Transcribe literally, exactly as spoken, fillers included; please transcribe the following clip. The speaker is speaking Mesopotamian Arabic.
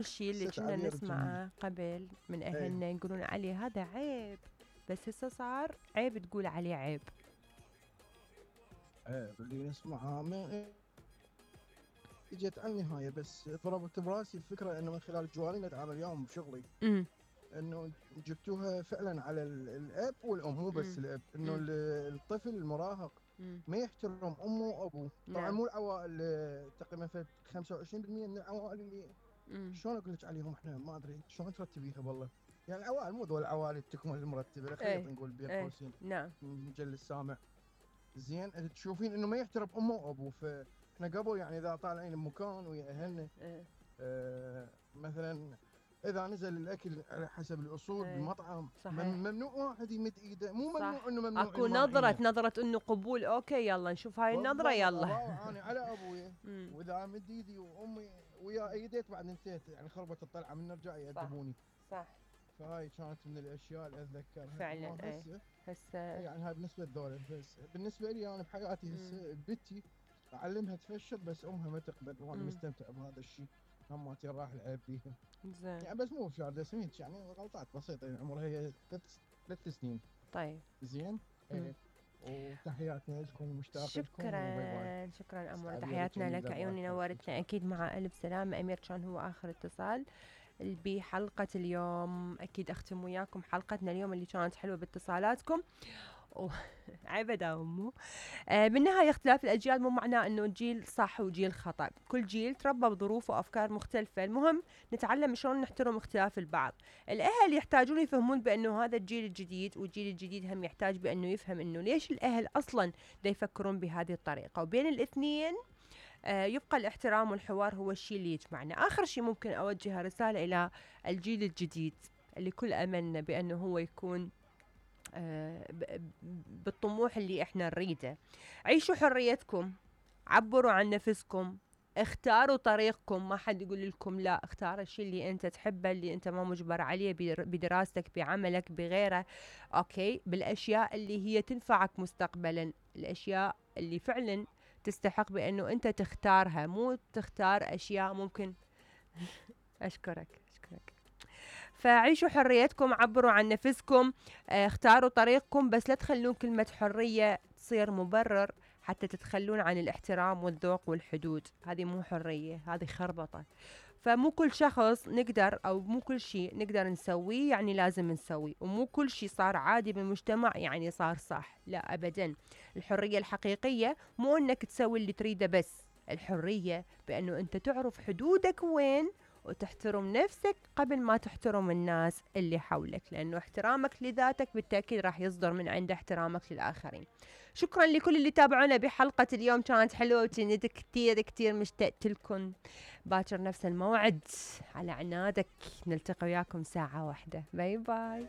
الشيء اللي حسيت كنا عليه نسمعه قبل من ايه أهلنا يقولون عليه هذا عيب، بس هسه صار عيب تقول عليه عيب. ايه اللي نسمعها من اجت على النهايه، بس ضربت براسي الفكره انه من خلال الجوالين اتعامل اليوم بشغلي، امم انه جبتوها فعلا على ال- الاب والام، مو بس امم الاب، انه امم ال- الطفل المراهق امم ما يحترم امه وابوه. طبعا نعم. مو العوائل، آه، تقريبا فد خمسة وعشرين بالمئة من العوائل اللي امم شلون اقول لك عليهم احنا ما ادري شلون ترتبيها والله. يعني العوائل مو ذول العوائل التكمل المرتبه، الخيط ايه نقول بين ايه قوسين نعم. مجل السامع. زين تشوفين انه ما يحترم امه وابوه. فاحنا قبل يعني اذا طالعين بمكان ويا اهلنا، ايه آه مثلا اذا نزل الاكل على حسب الاصول ايه بالمطعم، مم- صحيح. ممنوع واحد يمد ايده، مو ممنوع صح. انه ممنوع اكو نظرة الماعينه. نظرة انه قبول، اوكي يلا نشوف هاي النظرة بالضبط يلا. ابا انا على ابوي، امم واذا مد ايدي وامي ويا ايديت بعد انتهت، يعني خربت الطلعه من نرجع صح يأدبوني. صح. فهاي كانت من الاشياء اللي اتذكرها. فعلا اما ايه. هسه هسه. يعني هاي بالنسبه لذولا، بس بالنسبه لي انا بحياتي امم هسه بنتي اعلمها تفشل، بس امها ما تقبل، وانا امم مستمتع بهذا الشيء. هماتي راح العب بيها زين. يعني، بس مو بشارده سميت، يعني غلطات بسيطه. يعني عمرها هي ثلاث ثلاث سنين. طيب. زين. امم ايه. وتحياتنا لكم ومشتاق لكم وباي باي. شكرا شكرا أمور، استعدي لك تحياتنا جميله لك، الله عيوني يحفظك. نورتنا أكيد. مع ألف سلامة أمير، كان هو آخر اتصال بحلقة اليوم. أكيد أختم وياكم حلقتنا اليوم اللي كانت حلوة باتصالاتكم و... عبدا أمو. آه بالنهاية اختلاف الأجيال مو معناه أنه جيل صح وجيل خطأ، كل جيل تربى بظروف وأفكار مختلفة. المهم نتعلم شلون نحترم اختلاف البعض. الأهل يحتاجون يفهمون بأنه هذا الجيل الجديد، والجيل الجديد هم يحتاج بأنه يفهم أنه ليش الأهل أصلا دا يفكرون بهذه الطريقة. وبين الاثنين آه يبقى الاحترام والحوار هو الشيء اللي يجمعنا. آخر شيء ممكن أوجه رسالة إلى الجيل الجديد اللي كل أملنا بأنه هو يكون آه بالطموح اللي احنا نريده. عيشوا حريتكم، عبروا عن نفسكم، اختاروا طريقكم. ما حد يقول لكم لا، اختار الشيء اللي انت تحبه، اللي انت ما مجبر عليه بدراستك، بعملك، بغيره. اوكي، بالاشياء اللي هي تنفعك مستقبلا، الاشياء اللي فعلا تستحق بانه انت تختارها، مو تختار اشياء ممكن. اشكرك اشكرك. فعيشوا حريتكم، عبروا عن نفسكم، اه اختاروا طريقكم، بس لا تخلون كلمة حرية تصير مبرر حتى تتخلون عن الاحترام والذوق والحدود. هذه مو حرية، هذه خربطة. فمو كل شخص نقدر، او مو كل شيء نقدر نسويه يعني لازم نسويه، ومو كل شيء صار عادي بالمجتمع يعني صار صح، لا ابدا. الحرية الحقيقية مو انك تسوي اللي تريده، بس الحرية بانه انت تعرف حدودك وين، وتحترم نفسك قبل ما تحترم الناس اللي حولك، لأنه احترامك لذاتك بالتأكيد راح يصدر من عند احترامك للآخرين. شكرا لكل اللي تابعونا بحلقة اليوم، كانت حلوة وكنت كتير كتير مشتقت لكم. باكر نفس الموعد على عنادك نلتقي وياكم ساعة واحدة. باي باي.